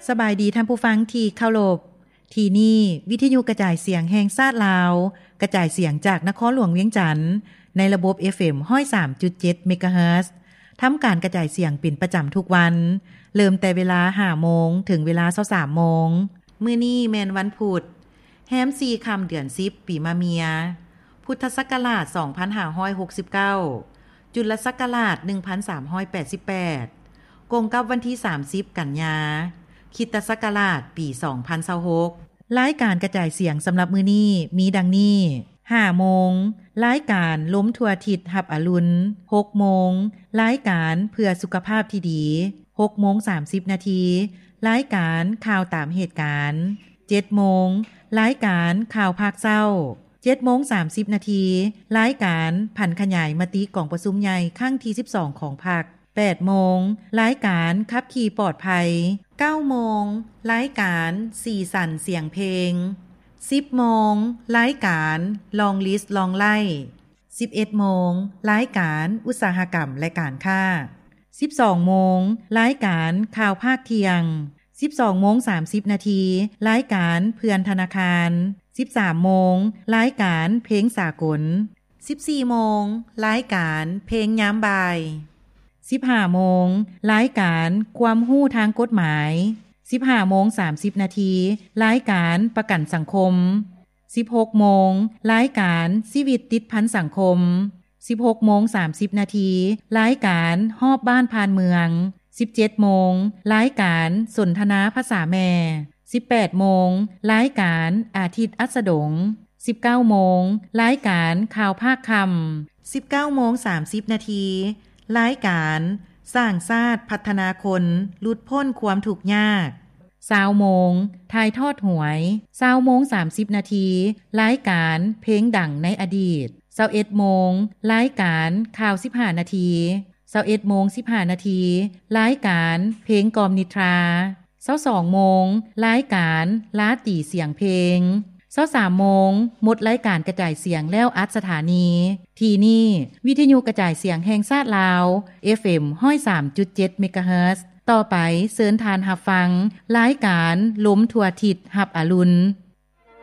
ສະບາຍດີທ່ານຜູ້ຟັງທີ່ເຄົາລົບ. ທີ່ນີ້ວິທະຍຸກະຈາຍສຽງແຫ່ງຊາດລາວ, ກະຈາຍສຽງຈາກນະຄອນຫຼວງວຽງຈັນ ໃນລະບົບ ເອັຟເອັມ ຮ້ອຍສາມຈຸດເຈັດ ເມກາເຮີດ. ທຳການກະຈາຍສຽງເປັນປະຈຳທຸກວັນ, ເລີ່ມແຕ່ເວລາ ຫ້າໂມງ ເຖິງເວລາ ຊາວສາມໂມງ. ມື້ນີ້ແມ່ນວັນພຸດ, ແຮມ ສີ່ ຄ່ຳ ເດືອນ ສິບ ປີມະເມຍ, ພຸດທະສັກກະລາດ ສອງພັນຫ້າຮ້ອຍຫົກສິບເກົ້າ, ຈຸລະສັກກະລາດ ໜຶ່ງພັນສາມຮ້ອຍແປດສິບແປດ, ກົງກັບວັນທີ ສາມສິບ ກັນຍາ, ຄຣິສຕະສັກກະລາດ ປີ ສອງພັນຊາວຫົກ. ລາຍການກະຈາຍສຽງສຳລັບມື້ນີ້ມີດັ່ງນີ້: ຫ້າໂມງ, ລາຍການລົມທົ່ວທິດຮັບອະລຸນ. ຫົກໂມງ, ລາຍການເພື່ອສຸຂະພາບທີ່ດີ. ຫົກໂມງ ສາມສິບນາທີ, ລາຍການຂ່າວຕາມເຫດການ. ເຈັດໂມງ, ລາຍການຂ່າວພາກເຊົ້າ. ເຈັດໂມງ ສາມສິບນາທີ, ລາຍການຜັນຂະຫຍາຍມະຕິກອງປະຊຸມໃຫຍ່ຄັ້ງທີ ສິບສອງ ຂອງພັກ. ແປດໂມງ, ລາຍການຂັບຂີ່ປອດໄພ. ເກົ້າໂມງ, ລາຍການສີສັນສຽງເພງ. ສິບໂມງ, ລາຍການ Long List Long Life. ສິບເອັດໂມງ, ລາຍການອຸດສາຫະກຳ ແລະ ການຄ້າ. ສິບສອງໂມງ, ລາຍການຂ່າວພາກທ່ຽງ. ສິບສອງໂມງ ສາມສິບນາທີ, ລາຍການເພື່ອນທະນາຄານ. ສິບສາມໂມງ, ລາຍການເພງສາກົນ. ສິບສີ່ໂມງ, ລາຍການເພງຍາມບ່າຍ. ສິບຫ້າໂມງ, ລາຍການຄວາມຮູ້ທາງກົດໝາຍ. ສິບຫ້າໂມງ ສາມສິບນາທີ, ລາຍການປະກັນສັງຄົມ. ສິບຫົກໂມງ, ລາຍການຊີວິດຕິດພັນສັງຄົມ. ສິບຫົກໂມງ ສາມສິບນາທີ, ລາຍການຮອບບ້ານຜ່ານເມືອງ. ສິບເຈັດໂມງ, ລາຍການສົນທະນາພາສາແມ່. ສິບແປດໂມງ, ລາຍການອາທິດອັດສະດົງ. ສິບເກົ້າໂມງ, ລາຍການຂ່າວພາກຄ່ຳ. ສິບເກົ້າໂມງ ສາມສິບນາທີ, ລາຍການສ້າງຊາດພັດທະນາຄົນ ຫຼຸດພົ້ນຄວາມທຸກຍາກ. ຊາວໂມງ, ຖ່າຍທອດຫວຍ. ຊາວໂມງ ສາມສິບນາທີ, ລາຍການເພງດັງໃນອະດີດ. ຊາວເອັດໂມງ, ລາຍການຂ່າວ ສິບຫ້ານາທີ. ຊາວເອັດໂມງ ສິບຫ້ານາທີ, ລາຍການເພງກ່ອມນິດທາ. ຊາວສອງໂມງ, ລາຍການລາຕີສຽງເພງ. ຊາວສາມໂມງ, ໝົດລາຍການກະຈາຍສຽງແລ້ວອັດສະຖານີ. ທີ່ນີ້ ວິທະຍຸກະຈາຍສຽງແຫ່ງຊາດລາວ ເອັຟເອັມ ຮ້ອຍສາມຈຸດເຈັດ ເມກາເຮີດ. ຕໍ່ໄປເຊີນທ່ານຮັບຟັງລາຍການລົມທົ່ວທິດຮັບອະລຸນ.